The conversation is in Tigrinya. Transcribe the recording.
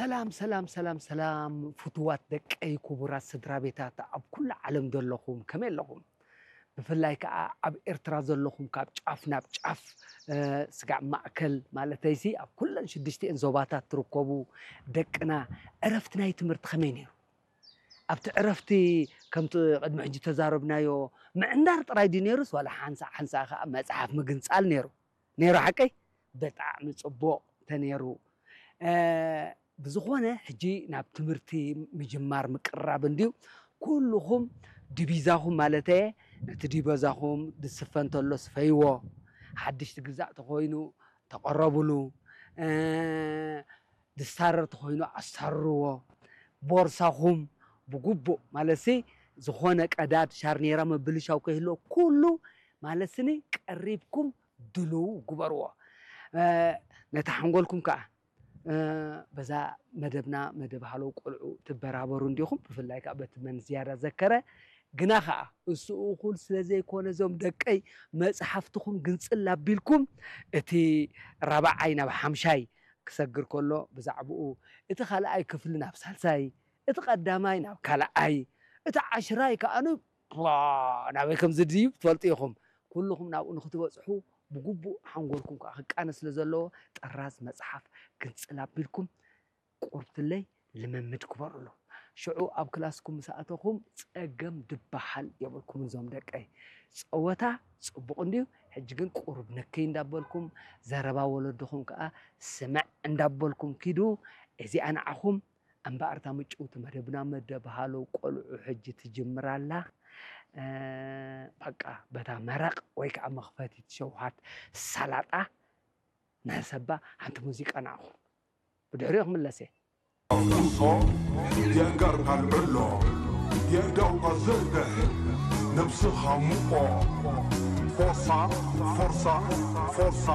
ሰላም ሰላም ሰላም ሰላም፣ ፍቱዋት ደቀይ፣ ክቡራት ስድራ ቤታት ኣብ ኩሉ ዓለም ዘለኹም፣ ከመይ ኣለኹም? ብፍላይ ከዓ ኣብ ኤርትራ ዘለኹም፣ ካብ ጫፍ ናብ ጫፍ፣ ስጋዕ ማእከል ማለተይሲ፣ ኣብ ኩለን ሽዱሽቲኤን ዞባታት ትርከቡ ደቅና፣ ዕረፍቲ ናይ ትምህርቲ ከመይ ነይሩ? ኣብቲ ዕረፍቲ ከምቲ ቅድሚ ሕጂ ተዛረብናዮ ምዕንዳር ጥራይ ድዩ ነይሩስ ዋላ ሓንሳእ ሓንሳእ ከዓ መጽሓፍ ምግንጻል ነይሩ? ነይሩ ሓቀይ? ብጣዕሚ ጽቡቕ ተነይሩ። ብዝኾነ ሕጂ ናብ ትምህርቲ ምጅማር ምቅራብ እንድዩ። ኩልኹም ድቢዛኹም ማለተየ፣ ነቲ ዲበዛኹም ድስፈ እንተሎ ስፈይዎ፣ ሓድሽ ትግዛእ ተኾይኑ ተቐረብሉ፣ ድሳረር ተኾይኑ ኣሳርርዎ፣ ቦርሳኹም ብግቡእ ማለትሲ ዝኾነ ቀዳድ ሻርኔራ ምብልሻው ከይህልዎ ኩሉ ማለትስኒ ቀሪብኩም ድልው ግበርዎ። ነቲ ሓንጎልኩም ከዓ በዛ መደብና መደብ ሃለው ቆልዑ ትበራበሩ እንዲኹም፣ ብፍላይ ከዓ በቲ መን ዝያዳ ዘከረ ግና ከዓ እሱ እኹል ስለ ዘይኮነ እዞም ደቀይ መፅሓፍትኹም ግንፅል ኣቢልኩም እቲ ራብዓይ ናብ ሓምሻይ ክሰግር ከሎ ብዛዕባኡ እቲ ካልኣይ ክፍሊ ናብ ሳልሳይ እቲ ቀዳማይ ናብ ካልኣይ እቲ ዓሽራይ ከዓ ን ናበይ ከም ዝድይብ ትፈልጡ ኢኹም። ኩልኹም ናብኡ ንክትበፅሑ ብግቡእ ሓንጎልኩም ከዓ ክቃነ ስለ ዘለዎ ጥራዝ መፅሓፍ ግንፅል ኣቢልኩም ቁርብትለይ ልምምድ ክበሩሉ። ሽዑ ኣብ ክላስኩም ምስ ኣተኹም ጸገም ድበሃል የብልኩምን እዞም ደቀይ። ጸወታ ጽቡቕ እንድዩ፣ ሕጂ ግን ቁሩብ ንክይ እንዳበልኩም፣ ዘረባ ወለድኹም ከኣ ስምዕ እንዳበልኩም ኪዱ። እዚኣ ንዓኹም እምበኣር እታ ምጭውቲ መደብና መደብ ሃሎ ቆልዑ ሕጂ ትጅምር ኣላ። በቃ በታ መረቕ ወይ ከኣ መኽፈቲት ሸውሃት ሳላጣ ንሕሰባ ሓንቲ ሙዚቃ ንዓኹም። ብድሕሪኡ ክምለስ እየ። ቁሶ የእንጋርካ ልዕሎ የእዳውካ ዘርግሕ ነብስኻ ምቆ ፎርሳ ፎርሳ ፎርሳ